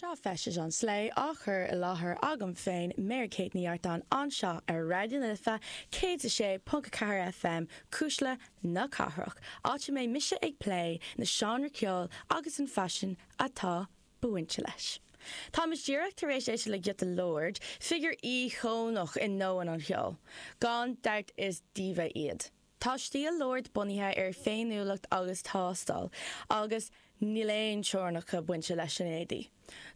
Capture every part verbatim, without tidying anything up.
Seo Feistis an Slé á chur i láthair agam féin Mary Kate Ní Artáin anseo ar Raidió na Life céad a sé ponc a ceathair FM Cuisle na Cathrach, áit a mbeidh mise ag plé na seánra ceoil agus an faisean atá bainte leis. Táimid díreach tar éis éisteacht le giota Lorde, figiúr íocónach i ndomhan an cheoil. Gan dabht is diva iad. Tá stíl Lorde bunaithe ar féiniúlacht agus tástáil, agus níl aon teorainneacha bainte leis an éadaí.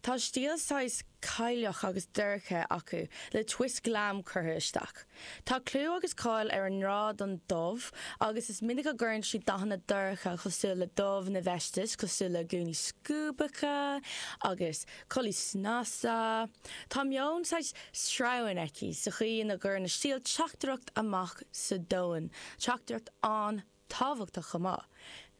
Tá stíl saghas cailleach agus dorcha acu le twist glam curtha isteach. Tá clú agus cáil ar an ngrá don dubh agus is minic a gcuireann siad dathanna dorcha cosúil le dubh na bhfeistis cosúil le gúnaí scuabacha agus culaith snasta. Tá meon saghas sreabhann aici sa chaoi ina gcuireann a stíl teachtaireacht amach sa domhan, teachtaireacht an-tábhachtach chomh maith.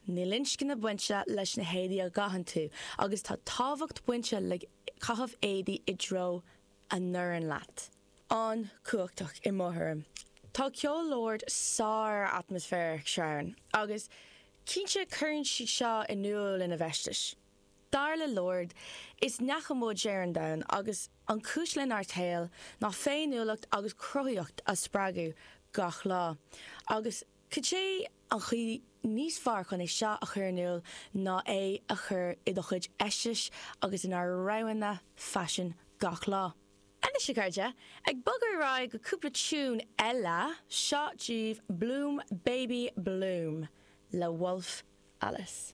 Níl inscne bainte leis na héadaí a gcaitheann tú, agus tá tábhacht bainte le caitheamh éadaí i dtreo a n-oireann leat. An-chumhachtach i mo thuairim. Tá ceol Lorde sár-atmaisféarach sreabhann, agus cinnte cuireann sí seo in iúl ina bhfeistis. Dar le Lorde, is neacha muid ar an domhan agus an chúis lenár saol ná féiniúlacht agus cruthaíocht a spreagadh gach lá. Agus cad é an chaoi níos fearr chun é seo a chur in iúl ná é a chur i do chuid feistis agus inár roghanna faisin gach lá. Anois a chairde, ag bogadh ar aghaidh go cúpla tune eile seo daoibh Bloom Baby Bloom le Wolf Alice.